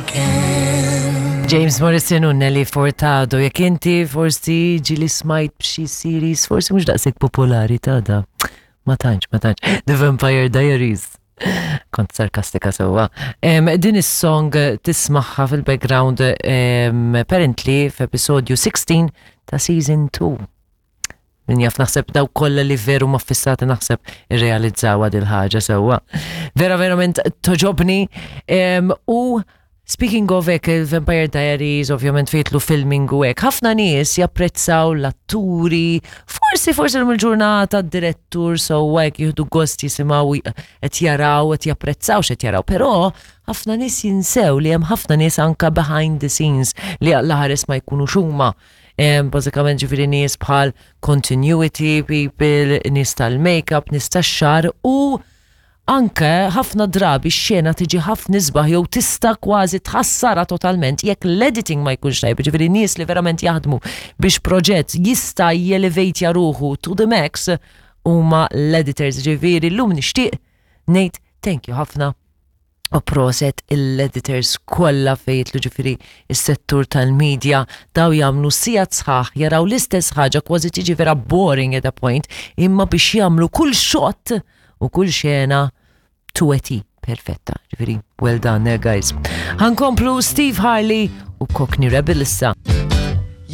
again. James Morrison u Nelly Furtado, jekk inti forsi ġili smajt b'xi series, forsi mhux daqshekk popolari ta' da. Ma tantx, ma tantx. The Vampire Diaries. Kont sarkastika sewwa. Din is-song tismaħħa fil-background apparently f'episodju 16 ta' season 2. Min jaf naħseb daw kollha li veru ma fissati naħseb irrealizzawha dil ħaġa sewwa. Vera verament toġobni u speaking of hekk il-Vampire Diaries ovvjament fejtlu filming u hekk, ħafna nies japprezzaw l-atturi, forsi forsi l ġurnata d-direttur sewwa hekk jieħdu gost jisimgħu qed jaraw qed japprezzaw x'qed jaraw, però ħafna nies jinsew li hemm ħafna nies anka behind the scenes li għall-ħares ma jkunux huma. Bażikament ġifieri nies bħal continuity people, nies tal-makeup, nies tax-xagħar u anke ħafna drabi x-xena tiġi ħafna isbaħ jew tista' kważi tħassarha totalment jekk l-editing ma jkunx tajjeb, ġifieri nies li verament jaħdmu biex proġett jista' jelevejtja ruħu to the max huma l-editors, ġifieri llum nixtieq ngħid thank you ħafna u proset il-editors kollha fejn jidħlu ġifieri s-settur tal-media daw jagħmlu sigħat sħaħ jaraw l-istess ħaġa kważi tiġi vera boring at a point imma biex jagħmlu kull shot u kull xena to a T perfetta. Ġifieri well done eh, guys. Ħankomplu Steve Harley u Cockney Rebel issa.